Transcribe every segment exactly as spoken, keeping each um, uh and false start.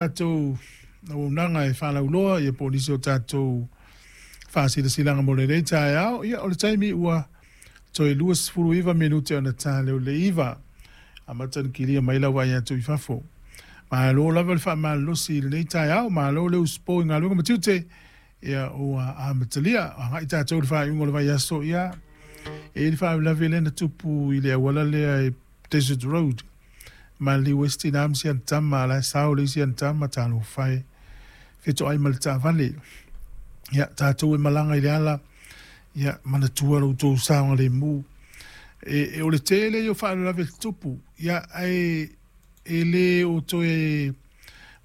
Tatou auaunaga e faalauloa ia po o nisi o tatou faasilasilaga mo lenei taeao. Ia o le taimi ua toe luasefulu iva minute ona ta lea o le iva. Amata ona kilia mai lau vaai atu i fafo. Malo lava le faamalolosi i lenei taeao, malo le usupo i galuega ma tiute. Ia ua amatalia, agai tatou i le faaiuga o le vaiaso. Ia e i ai le faalavelave lea na tupu i le auala lea e Desert Road, maliu ai se tina ma si ana tama, a o la e sao le isi ana tama, talofa e, fetoai ma le taavale. Ia, tatou e malaga i le ala, ia, manatua lo outou saogalemu. E, e, o le tele ia o faalavelave tutupu, ia, ae e le o toe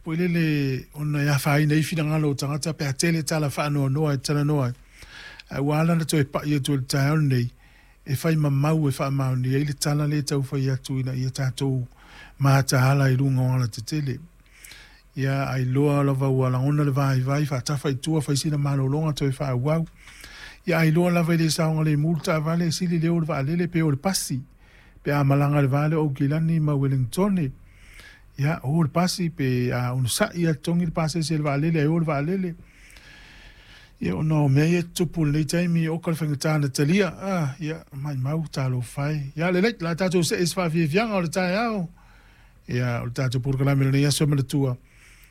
foi lele ona e afaina ai finagalo o tagata pe a tele tala faanoanoa e talanoa ai. Ae ua ala ona toe pai atu i le taeao lenei, e fai ma mau e faamaonia ai le tala lea e tau fai atu ina ia tatou mataala i luga o alatetele. Ia, ailoa lava ua lagona le vaivai, faatafa i tua, fai sina malologa toe faaauau. Ia, ailoa lava e le saogalemu le taavale, sili le o le vaalele pe o le pasi, pe a malaga i le va lea o Aukilani ma Ueligitone. Ia, o le pasi pe a onosai lava totogi le pasese o le vaalele ae o le vaalele. Ia, ona o mea ia e tutupu i lenei taimi, oka le faigata na talia. Ah, ia, maimau, talofa e. Ia, lelei, o le a tatou see i se faafiafiaga o le taeao. Ia, o le tatou polokalame o lenei aso e manatua.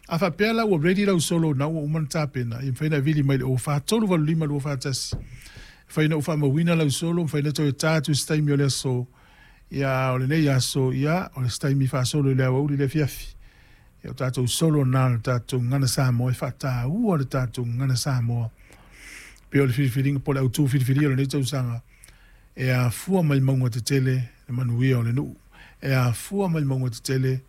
A faapea la ua ready lau solo na ua uma ona tapena, ia mafai ona e vili mai i le o fa tolu valu lima lua fa tasi. Mafai ona ou faamauina lau solo, mafai ona toe ta atu i se taimi o le aso. Ia, o lenei aso, ia, o le se taimi faasolo i le aoauli le afiafi. Ia, o tatou solo na o le tatou gagana Samoa e faataua le tatou gagana Samoa. Pei o le filifiliga po o le autu filifilia o lenei tausaga, e afua mai mauga tetele le manuia o le nuu. E afua mai mauga tetele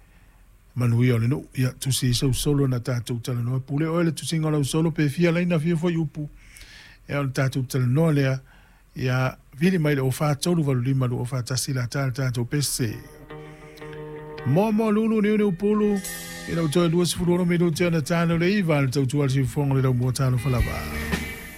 manuia o le nuu. Ia, tusi ai sau solo na tatou talanoa. Pule oe le tusiga o lau solo pe fia laina fia foi upu. Ia, o le tatou talanoa lea. Ia, vili mai le o fa tolu valu lima lua fa tasi la ta le tatou pese. Moa moa lulu niu niu pulu. Ina ua toe luasefulu ono minute ona ta lea o le iva le tautua a le siufofoga o le laumua talofa lava.